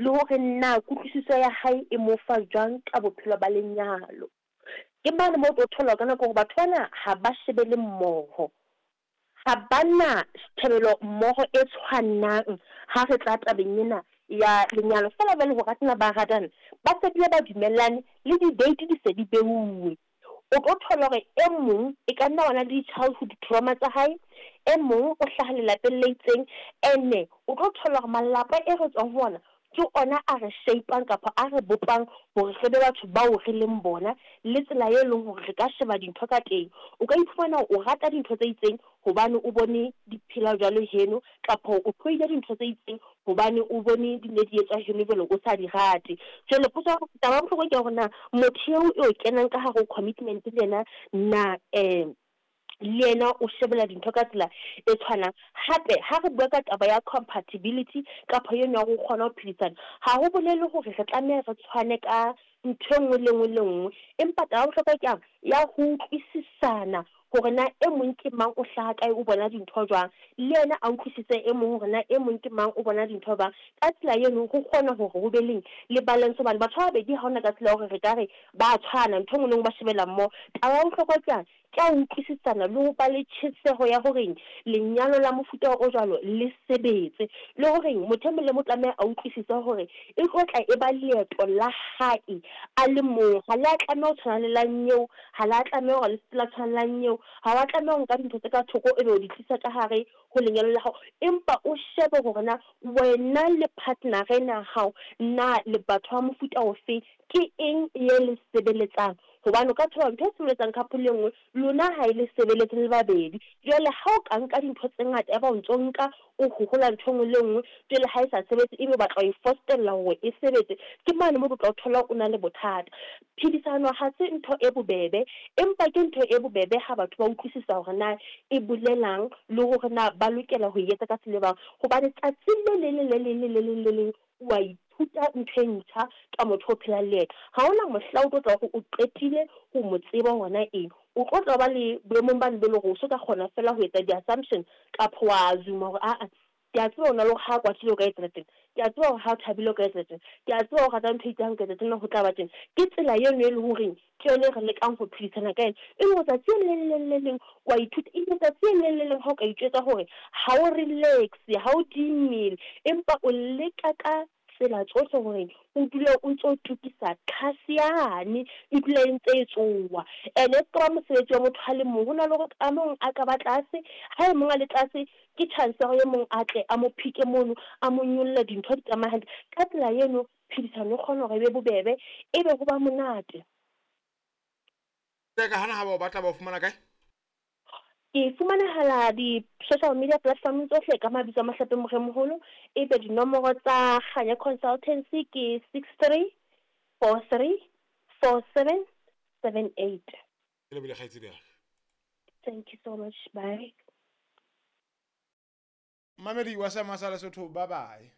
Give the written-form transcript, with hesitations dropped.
Le hore na kutlwisiso ya hae e mo fa jwang ka bophelo ba lenyalo. Ke mane moo o tlo thola ka nako hore batho bana ha ba shebele mmoho. Ha ba na tjhebelo mmoho e tshwanang ha re tla tabeng ena ya lenyalo. Feela jwale ho ratana ba ratana, ba se bile ba dumellane le di-date di se di beuwe. O tlo thola hore e mong e ka nna wa na le di-childhood trauma tsa hae, e mong o hlaha lelapeng le itseng. Ene o tlo thola hore malapa e re tswang ho ona ke ona a re shape-ang kapa a re bopang hore re be batho bao re leng bona, le tsela e leng hore re ka sheba dintho ka teng. O ka iphumana o rata dintho tse itseng hobane o bone di phela jwalo heno, kapa o hloile dintho tse itseng hobane o bone di ne di etswa heno jwale o sa di rate. Jwale potso ya taba ya bohlokwa ke ya hore na motho eo e o kenang ka hare ho commitment le yena na le yena o shebella dintho ka tsela e tshwanang. Hape ha re bua ka taba ya compatibility kapa eno ya hore o kgona ho phedisana, ha ho bolele hore re tlameha re tshwane ka ntho e nngwe le nngwe le nngwe. Empa taba ya bohlokwa ke yang ya ho utlwisisana hore na e mong ke mang, o hlaha kae, o bona dintho jwang. Le yena a utlwisise e mong hore na e mong ke mang, o bona dintho jwang. Ka tsela eno ho kgona hore ho be leng le balance hobane batho ba babedi ha hona ka tsela ya hore re ka re ba tshwana, ntho e nngwe le nngwe ba shebella mmoho. Taba ya bohlokwa ke yang ke ya ho utlwisisana le ho ba le tjheseho ya horeng lenyalo la mofuta o jwalo le sebetse. Le horeng motho e mong le mong o tlameha a utlwisise hore e tlo tla e ba leeto la hae a le mong. Ha le a tlameha ho tshwana le la nyeo, ha le a tlameha hore le se la tshwana le la nyeo. Ha wa tlameha ho nka dintho tse ka thoko ebe o di tlisa ka hare ho lenyalo la hao. Empa o shebe hore na wena le partner-a ena ya hao na le batho ba mofuta ofeng, ke eng e le sebeletsang. Hobane o ka thola ntho e sebeletsang couple e nngwe, lona ha e le sebeletse le babedi. Jwale ha o ka nka dintho tse ngata, ya ba o ntso nka o hohola ntho e nngwe le e nngwe, jwale ha e sa sebetse ebe o batla ho e fostella hore e sebetse, ke mane moo o tla o thola o na le bothata. Phedisano ha se ntho e bobebe, empa ke ntho e bobebe ha batho ba utlwisisa hore na e bolelang le hore na ba lokela ho e etsa ka tsela e jwang. Hobane tsatsi le leng le le leng le le leng le leng wa ithuta ntho e ntjha ka motho o phelang le yena. Ha hona mohla o tlo tla hore o qetile ho mo tseba hore na eng. O tlo tla ba le boemong bane bo le hore o so ka kgona feela ho etsa di-assumption kapa wa assume hore aa ke a tseba hore na le hore ha kwatile o ka etsa tjena, ke a tseba hore ha o thabile o ka etsa tjena, ke a tseba hore o rata ntho e itseng ha nka etsa tjena ho tla ba tjena. Ke tsela eno e leng horeng ke yona e re lekang ho phedisana ka yona. E le hore tsatsi le leng le le leng wa ithuta, ebile tsatsi le leng le leng ha o ka itjwetsa hore ha o relax, ha o dihe mmele, empa o leka ka tsela tsohle hore o dule o ntso tukisa tlhase yane e dule e ntse e tsoha. Ene e ska ba mosebetsi wa motho a le mong, ho na le hore a mong a ka ba tlase, ha e mong a le tlase ke chance ya hore e mong a tle a mo phike mono, a mo nyolle dintho di tsamaye hantle. Ka tsela eno phedisano e kgona hore e be bobebe, ebe ho ba monate. Ka hana ha ba o batla ba o fumana kae? Ke fumanehala di-social media platform tsohle ka mabitso a Mahlape Moremoholo. Ebe dinomoro tsa Kganya Consultancy ke 63 43 47 78. Ke lebohile kgaitsedi ya ka. Thank you so much. Bye. Mamedi wa Seema sa Lesotho, bye bye.